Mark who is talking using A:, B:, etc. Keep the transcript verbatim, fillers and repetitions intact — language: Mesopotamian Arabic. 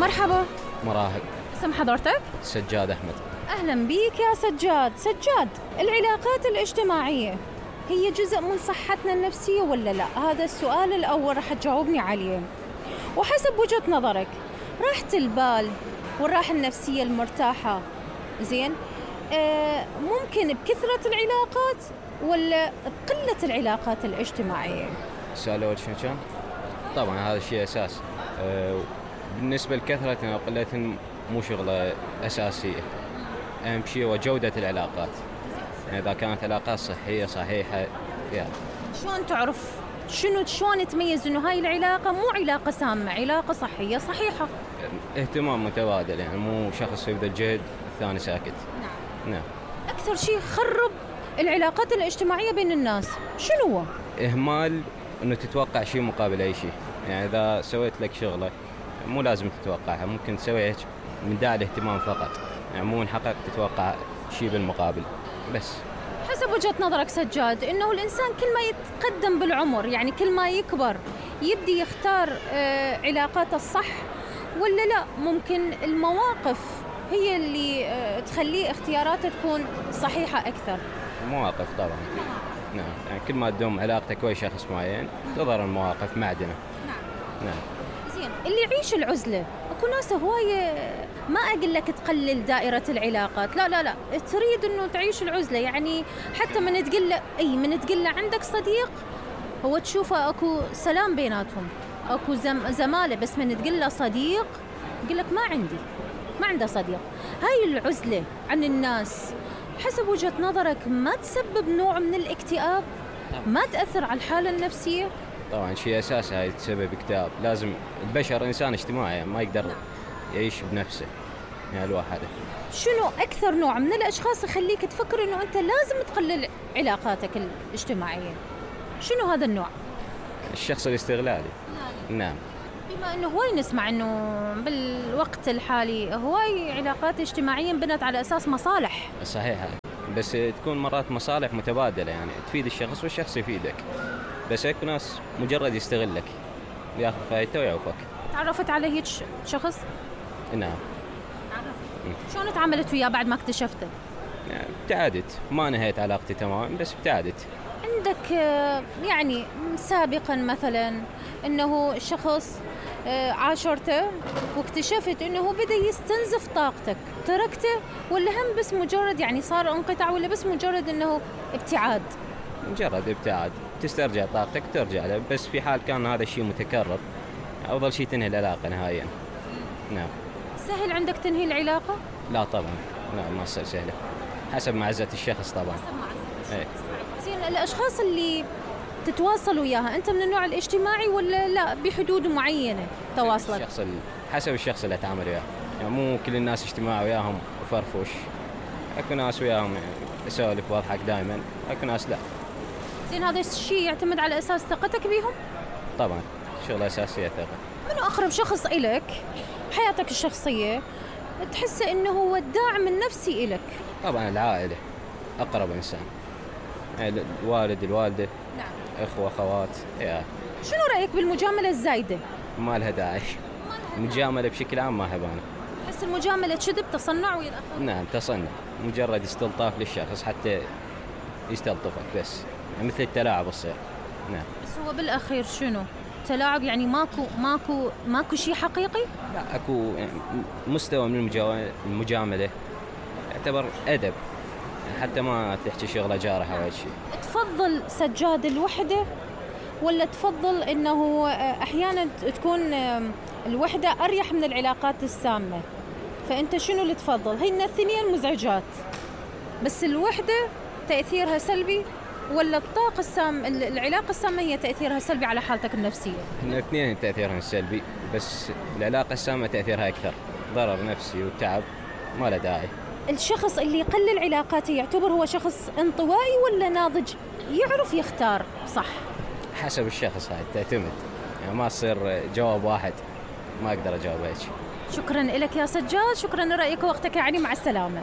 A: مرحبا.
B: مراحب.
A: اسم حضرتك؟
B: سجاد أحمد.
A: أهلا بيك يا سجاد. سجاد، العلاقات الاجتماعية هي جزء من صحتنا النفسية ولا لا؟ هذا السؤال الأول رح تجاوبني عليه، وحسب وجهة نظرك راحة البال والراحة النفسية المرتاحة زين آه ممكن بكثرة العلاقات ولا بقلة العلاقات الاجتماعية؟
B: السؤال الأول شنو كان؟ طبعا هذا الشيء أساس. أه بالنسبة لكثرة وقلة مو شغلة أساسية. أهم شيء هو جودة العلاقات، يعني إذا كانت علاقات صحية صحيحة. يعني
A: شلون تعرف شنو شلون تميز إنه هاي العلاقة مو علاقة سامة، علاقة صحية صحيحة؟
B: اهتمام متبادل، يعني مو شخص يبذل جهد الثاني ساكت.
A: نعم.
B: نعم.
A: أكثر شيء خرب العلاقات الاجتماعية بين الناس شنو هو؟
B: إهمال إنه تتوقع شيء مقابل أي شيء، يعني إذا سويت لك شغلة مو لازم تتوقعها، ممكن تسويها من داعي الاهتمام فقط، يعني مو من حقك تتوقع شيء بالمقابل بس.
A: حسب وجهة نظرك سجاد إنه الإنسان كل ما يتقدم بالعمر، يعني كل ما يكبر يبدي يختار آه علاقاته الصح ولا لا؟ ممكن المواقف هي اللي آه تخليه اختياراته تكون صحيحة أكثر.
B: مواقف طبعا. نعم، يعني كل ما تدوم علاقتك ويا شخص معين تظهر المواقف معدنة.
A: نعم.
B: نعم.
A: زين، اللي يعيش العزلة اكو ناس هواية، ما اقول لك تقلل دائرة العلاقات، لا لا لا، تريد انه تعيش العزلة، يعني حتى من تقول له اي من تقول له عندك صديق هو تشوفه اكو سلام بيناتهم، اكو زم زمالة، بس من تقول له صديق يقول لك ما عندي، ما عنده صديق. هاي العزلة عن الناس حسب وجهة نظرك ما تسبب نوع من الاكتئاب؟ ما تأثر على الحالة النفسية؟
B: طبعا شيء أساسي هاي تسبب اكتئاب. لازم البشر إنسان اجتماعي، يعني ما يقدر يعيش بنفسه يعني لوحده.
A: شنو أكثر نوع من الأشخاص يخليك تفكر إنه أنت لازم تقلل علاقاتك الاجتماعية؟ شنو هذا النوع؟
B: الشخص الاستغلالي. نعم.
A: بما إنه هواي نسمع إنه بالوقت الحالي هواي علاقات اجتماعية بنت على أساس مصالح.
B: صحيح، بس تكون مرات مصالح متبادلة، يعني تفيد الشخص والشخص يفيدك، بس هيك ناس مجرد يستغلك ياخذ فايدته ويعوفك.
A: تعرفت على هيك شخص؟
B: نعم.
A: تعرفت. شلون تعاملت وياه بعد ما اكتشفته؟
B: يعني ابتعدت، ما نهيت علاقتي تماما بس ابتعدت.
A: عندك يعني سابقا مثلا انه شخص عاشرته واكتشفت انه بدا يستنزف طاقتك، تركته ولا هم بس مجرد يعني صار انقطاع ولا بس مجرد انه ابتعاد؟
B: مجرد ابتعاد، تسترجع طاقتك ترجع له، بس في حال كان هذا الشيء متكرر أفضل شيء تنهي العلاقة نهائيا. نعم.
A: سهل عندك تنهي العلاقة؟
B: لا طبعا، لا ما تصير سهلة، حسب معزة الشخص طبعا.
A: حسب معزة
B: الشخص.
A: زين، الأشخاص اللي تتواصل وياها أنت من النوع الاجتماعي ولا لا بحدود معينة تواصلك؟
B: الشخص ال... حسب الشخص اللي أتعامل وياه، يعني مو كل الناس اجتماعي وياهم وفرفوش، أكو ناس وياهم أسولف واضحك دائما، أكو ناس لا.
A: زين، هذا الشيء يعتمد على أساس ثقتك بيهم؟
B: طبعا شغلة أساسية ثقة.
A: منو أقرب شخص إلك بحياتك الشخصية تحس إنه هو الداعم النفسي إلك؟
B: طبعا العائلة أقرب إنسان، يعني الوالد الوالدة.
A: نعم.
B: إخوة أخوات. يا
A: شنو رأيك بالمجاملة الزايدة؟
B: ما لها داعي، مجاملة بشكل عام ما أحب أنا.
A: تحس المجاملة كذب تصنع ويا الآخرين؟
B: نعم تصنع، مجرد استلطاف للشخص حتى يستلطفك بس، يعني مثل التلاعب الصير. نعم.
A: بس هو بالأخير شنو؟ تلاعب، يعني ماكو ماكو ماكو شيء حقيقي؟
B: لا اكو يعني مستوى من المجاملة يعتبر أدب، يعني حتى ما تحكي شغلة جارحة أو شيء.
A: تفضل سجاد الوحدة ولا تفضل إنه أحيانا تكون الوحدة أريح من العلاقات السامة؟ فأنت شنو اللي تفضل؟ هي الاثنين مزعجات، بس الوحدة تأثيرها سلبي ولا الطاقة السام العلاقة السامة هي تأثيرها سلبي على حالتك النفسية؟
B: الاثنين تأثيرها سلبي، بس العلاقة السامة تأثيرها أكثر، ضرر نفسي وتعب ما له داعي.
A: الشخص اللي يقلل علاقاته يعتبر هو شخص انطوائي ولا ناضج يعرف يختار صح؟
B: حسب الشخص، هاي تعتمد، يعني ما تصير جواب واحد، ما أقدر أجاوب هيك.
A: شكرا لك يا سجاد، شكرا لرأيك ووقتك، يعني مع السلامة.